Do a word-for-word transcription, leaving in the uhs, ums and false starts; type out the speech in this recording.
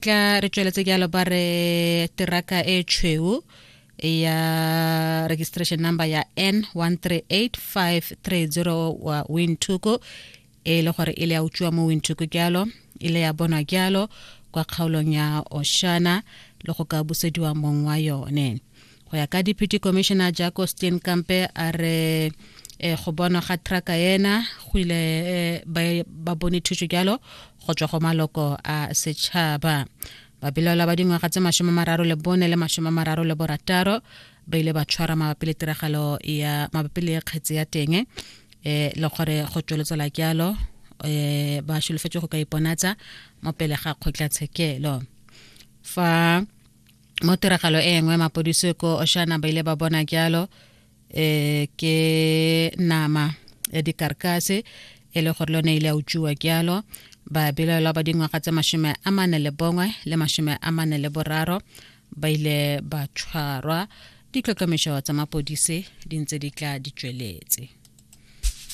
Tla re tsweletse jalo. Ba re teraka e tshweu ya registration number ya N one three eight five three zero wa Windhoek, e le gore e le ya utswiwa mo Windhoek jalo, e le ya bonwa jalo kwa kgaolong ya Oshana le go ka busediwa mong wa yone. Go ya ka Deputy Commissioner Jaco Steenkamp, a re e go bonwa ga traka ena go ile ba, ba bone thuso jalo go tswa go maloko a setšhaba. Babelaelwa ba dingwaga tse masome mararo le bone le masome mararo le borataro ba ile ba tshwara mabapi le tiragalo ya mabapi le kgetse ya teng, e le gore go tsweletsela jalo e ba solofetse go ka iponatsa mo pele ga kgotlatshekelo. Fa mo tiragalo e nngwe, mapodisi ko Oshana ba ile ba bona jalo e ke nama ya dikarkase e le gore lone ile a utswiwa jalo. Babelaelwa ba dingwaga tse masome a mane le bongwe le masome a mane le boraro ba ile ba tshwarwa. Ditlhotlhomišo tsa mapodisi di ntse di tla di tsweletse.